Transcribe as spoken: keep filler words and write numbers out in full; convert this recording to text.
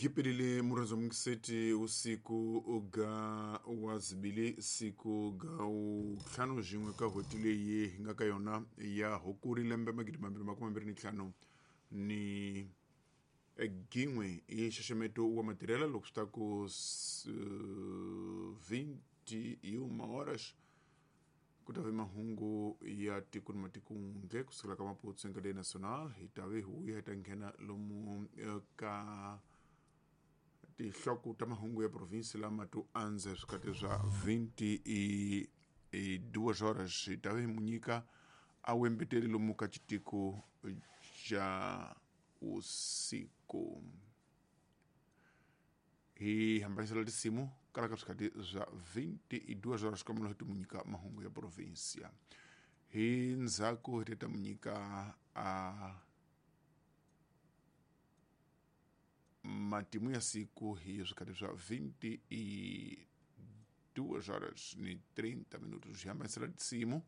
Gipelile murenzo mukiseti usiku ga wa zibili siku ga ntlhanu xin'we ka n'hweti leyi hi nga ka yona ya Hukuri lembe magidi mambirhi makume mambirhi ni ntlhanu ni gin'we i nxaxameto wa matirhelo loko swi ta ku vinte e uma horas ku ta ve mahungu ya tiko ni matiko ndle kusukela ka Maputo Cadeia Nacional hi ta ve hi vuya hi ta nghena lomu ka tinhloko ta mahungu ya provinsi lama to andza swikati swa vinte e duas horas hi ta ve hi mu nyika a wembeteli lomu ka xitiko xa usiku hi hambanisela tinsimu kala ka swikati swa vinte e duas horas kambe hi ti mu nyika mahungu ya provinsia hi ndzhaku hi ta mu nyika a matimu ya siku hi swikati swa vinte e duas horas ni trinta minutos hi hambanisela tinsimu.